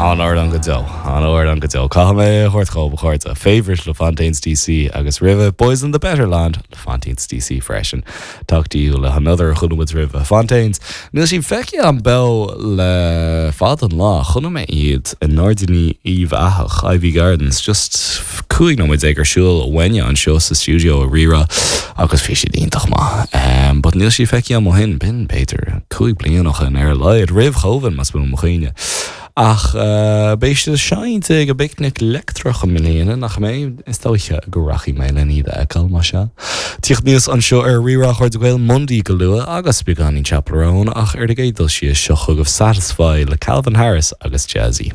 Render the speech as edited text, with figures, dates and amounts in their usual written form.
An-amhrán go deo. An-amhrán go deo. Caithfidh mé é a thabhairt dhóibh, a chairde. Favourite le Fontaines DC agus roimhe Boys in the Better Land le Fontaines DC freisin. Talk to You le hAnother a chuala muid roimhe Fontaines. Níl siad feicthe agam beo le fada an lá. Chonaic mé iad i nGairdíní Uíbh Eachach, Iveagh Gardens, just 15 nóiméad ar siúl uainne anseo sa stiúideo i Rí-Rá agus bhí siad iontach maith. But níl siad feicthe agam ó shin, b'in b'fhéidir 5 bliana ó shin ar a laghad, roimh Chovid más buan mo chuimhne. Ach beidh siad ag seinnt ag an bPicnic Leictreach i mbliana, nach mbeidh? Is dóiche go rachaidh mé len iad a fheiceáil, más ea. Tíocht aníos anseo ar Rí-Rá a chairde Gael, Mundy go luath agus beagáinín Chappell Roan, ach ar an gcéad dul síos, seo chugaibh Satisfy le Calvin Harris agus Jazzy.